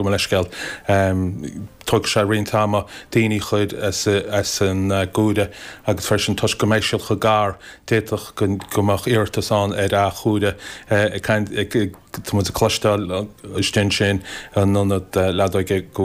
Mo leithscéal. Tógfaidh sé roinnt ama daoine a chur as an gcuaire agus freisin toisc go mbeidh siad chomh gar, d'fhéadfadh go mbeadh iarratas ann ar athchuaire. Tá muid ag cloisteáil istigh ansin in ionad leadóige go.